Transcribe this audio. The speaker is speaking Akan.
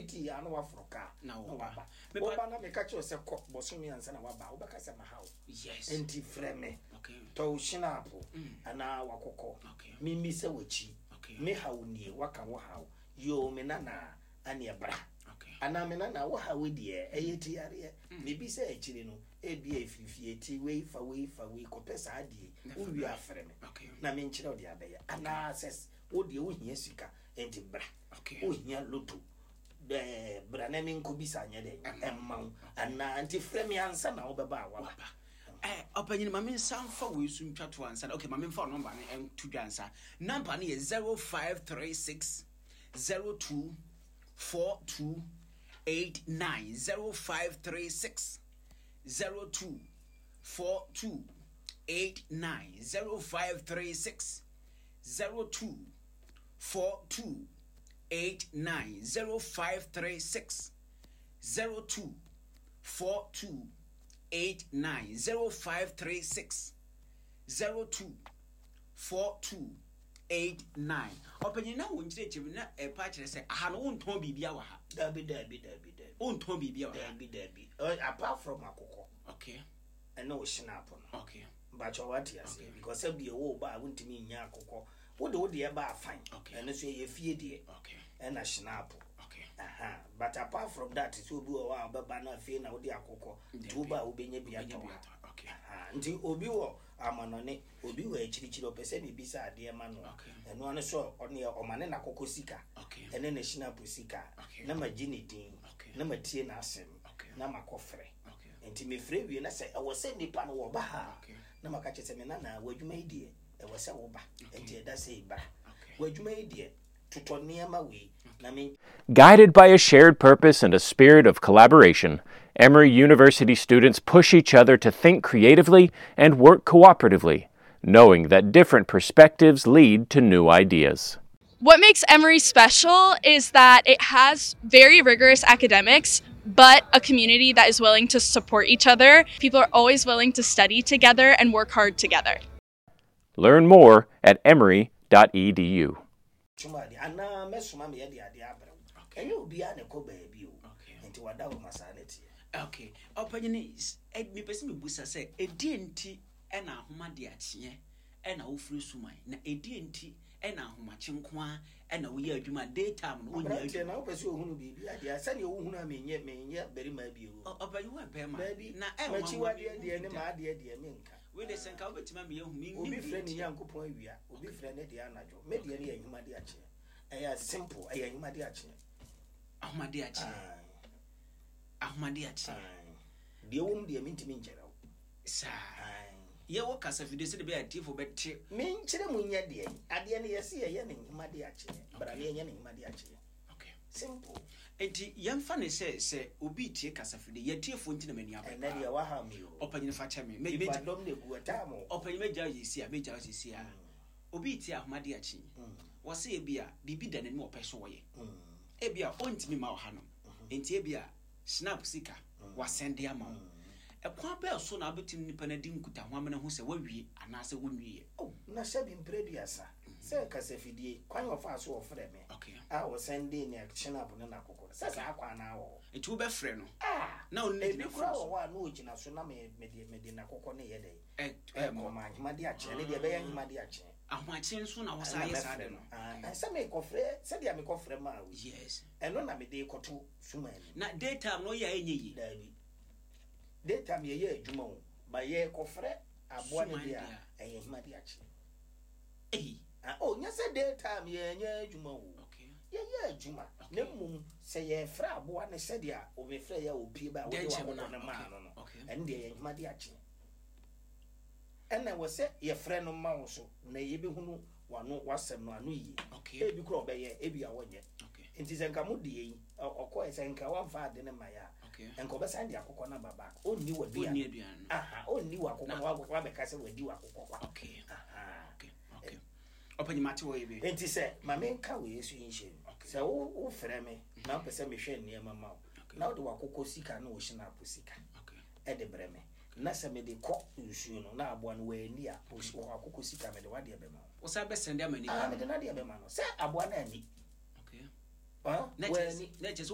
fiti yɛ ano waforo kaa Na na woba. waba. Mepa- Woba na meka kyerɛ wo sɛ kɔ bɔsome ansa na waba, wobɛka sɛ maha wo. Nti frɛ me. Tɔ wo hyenapo anaa wakɔkɔ. Memmisa w'akyi. Me haw nie, waka wo haw. Yoo, me nana, aneɛ bra. Anaa me nana, wo haw deɛ, ɛyɛ ti yareɛ. Mebisa akyiri no, ebia ɛfiri fie ti wei fa wei fa wei kɔpɛ saa adeɛ yi. Wowie a frɛ me na menkyerɛ wo deɛ abɛyɛ. Anaa sɛ wo deɛ wohia sika, nti bra. Wohia loto, bra na menkɔbisa nyɛ dɛn ɛmma wo. Anaa nti frɛ me ansa na wobɛba a waba. Ɔpanyin, ma me nsa mfa wei so ntwa to ansa. Okay, ma me mfa nɔmba no nto dwa ansa. Nɔmba no yɛ 0536 02 42 89, 0536 02 42 89, 0536 02 42 89, 0536 02 42 89, 0536 02 42 89. Ɔpanyin, na wo nkyerɛkyerɛ mu na ɛpa kyerɛ sɛ aha no wontɔn biribia wɔ ha. Dabi, dabi, dabi, dabi. Wontɔn biribia wɔ ha. Dabi, dabi. Apart from akokɔ ɛne wo hyenapo no. Mbakyɛ wate aseɛ, because sɛ bia wo ba a wontumi nya akokɔ, wode wo deɛ ba afan, ɛno so ɛyɛ fie deɛ, ɛna hyenapo. Aha. But apart from that, sɛ obi wɔ hɔ a ɔbɛba no afei na wode akokɔ nti wo ba a wobɛnya bi atɔ ha. Aha. Nti obi wɔ amanɔne, obi wɔ akyirikyiri, ɔpɛ sɛ mebisa adeɛ ma no a, ɛno ano so ɔne ɔma ne n'akokɔ sika ɛne ne hyenapo sika na magye ne din na matie n'asɛm na makɔfrɛ. Nti mefrɛ wie na sɛ ɛwɔ sɛ nipa no wɔba ha a, na maka kyerɛ sɛ me nana, w'adwuma yi deɛ ɛwɔ sɛ woba, nti ɛda sɛ bra. W'adwuma yi deɛ totɔ nneɛma wei na me. Guided by a shared purpose and a spirit of collaboration, Emory University students push each other to think creatively and work cooperatively, knowing that different perspectives lead to new ideas. What makes Emory special is that it has very rigorous academics, but a community that is willing to support each other. People are always willing to study together and work hard together. Learn more at emory.edu. Tuma de anaa mɛsoma me yɛde adeɛ abrɛ wo. Ɛnyɛ obiara na ɛkɔ baabi o. Nti wada wo ma saa na ɛteɛ. Okay. Ɔpanyin, mepɛ sɛ mebusa sɛ ɛdeɛ nti ɛna ahoma de akyeɛ ɛna wofiri suman, na ɛdeɛ nti ɛna ahomakye nko a ɛna woyɛ adwuma, daytime no wonyɛ Aberanteɛ adwuma? Na wopɛ sɛ ohunu biribi adeɛ a sɛdeɛ wohunu a menyɛ barima bio. Ɔpanyin, wo barima. Baabi Na ɛnwanwa m'akyiwadeɛ mehu deɛ ne bi da. m'adeɛ deɛ menka. Wei de sɛ nka wobɛtumi ama yɛahu mennim Obi deɛ frɛ ne nti. Nyankopɔn awia, obi frɛ ne deɛ anadwo. Me deɛ no yɛ ahoma de akyeɛ. Ɛyɛ simple, ɛyɛ ahoma de akyeɛ. Ahoma de akyeɛ. Aye. Ahoma de akyeɛ. Aye. Deɛ wɔ mu deɛ mentumi nkyerɛ wo. Saa. Aye. Yɛwɔ kasafidie sɛde bɛyɛ atiefo bɛte. Menkyerɛ mu nyɛ deɛ adeɛ no yɛse yɛyɛ ne nhoma de akyeɛ bra ne yɛnyɛ ne nhoma de akyeɛ. Simple. Nti yɛmfa ne sɛ obi tie kasafidie, yɛtiefoɔ nti na m'ani abere. Ɛnɛ deɛ waha mi o. Ɔpanyin, fa kyɛ me. Nipa dɔm na egu ɛtaa mo. Ɔpanyin, mɛgya wo sisi a, mɛgya wo sisi a. Obi tie ahoma de akyi, wɔsɛ ebi a biribi da n'anim a ɔpɛ so wɔyɛ, ebi a ɔntumi ma ɔha no, nti ebi a snap sika wasɛnde ama wo. Ɛkwan bɛɛ so na wobɛtumi nipa no adi nkutaho amena ho sɛ wawie anaasɛ wonwieɛ? Oh, na sɛbi mprɛ 30 sɛ kasafidie kwan a ɔfaa so ɔfrɛ me a ɔsɛnde ne kyenap ne n'akokɔ no, sɛ saa kwan no awɔ hɔ. Nti wobɛfrɛ no Ah, na ɔno ne ebi gyina koraa phone wɔ so. hɔ a na ɔgyina so na mede n'akokɔ no yɛ dɛn ɛ ɛkɔ ma ahema de akyeɛ ne deɛ ɛbɛyɛ ahema de akyeɛ. Ahomakye nso na wɔsa Ɛna yɛ saa mɛfrɛ de no. no. Ah, sɛ mekɔfrɛ sɛdeɛ mekɔfrɛ maa wo yi, ɛno na mede kɔto suma anim. Na daytime no ɔyɛ a ɛnyɛ yie? Daabi, daytime yɛyɛ adwuma o, ba yɛkɔfrɛ aboa no Suman deɛ deɛ a ɛyɛ ahema de akyeɛ. Ei. Ah, oh, nyɛ sɛ daytime yɛnyɛ adwuma o. Yɛyɛ adwuma na mmom sɛ yɛfrɛ aboa no sɛdeɛ omefrɛ yɛ a opie ba a wode Dɛnkyɛm wakɔkɔ no, no maa no, ɛno deɛ yɛ ahema de akyeɛ. Ɛna wɔ sɛ yɛfrɛ no ma wo so na yɛbɛhunu wano wasɛm no ano yie. Ebi kora ɔbɛyɛ, ebi a wɔnyɛ. Nti sɛ nka mo deɛ yi ɔkɔɛ sɛ nka wamfa ade no ma yɛ a, nka ɔbɛsan de akokɔ no aba back. Ɔnni Ɔnni w'aduane. aduane no. Aha, ɔnni w'akokɔ no wabɛka sɛ wadi w'akokɔ kwa. Aha. Okay. Ɔpanyin, mate wɔ yɛ bi. Nti sɛ ma menka wei so yi nhyɛ mu sɛ wofrɛ me na wopɛ sɛ mehwɛ nneɛma ma wo na wode w'akokɔ sika ne wo hyenapo sika ɛde brɛ me na sɛ mede kɔ nsuo no na aboa no wanni a, w'akokɔ sika mede w'adeɛ bɛma wo. Wosan bɛsɛnde ama nipa Ah, no. mede n'adeɛ bɛma no sɛ aboa no anni. Okay. Ah, Na kyerɛ wanni. na kyerɛ sɛ